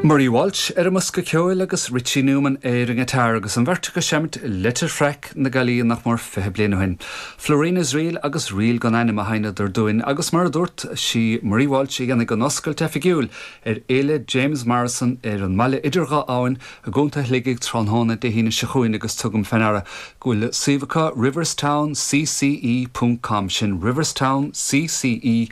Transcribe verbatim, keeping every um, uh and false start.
Marie Walsh ar an mbosca ceoil agus Richie Newman ar an ngiotár agus an bheirt ag seinnt Leitir Fraic na Gailí nach mór fiche bliain ó shin. Florina's Reel agus Ríl gan Ainm a sheinneadar dúinn agus mar a dúirt sí Marie Walsh a dhéanfaidh an oscailt oifigiúil ar Fhéile James Morrison ar an mbaile idir dhá abhainn i gContae Shligigh tráthnóna Dé hAoine seo chugainn agus tugaim faoi deara go bhfuil suíomh acu Riverstown CCE.com sin Riverstown CCE.com.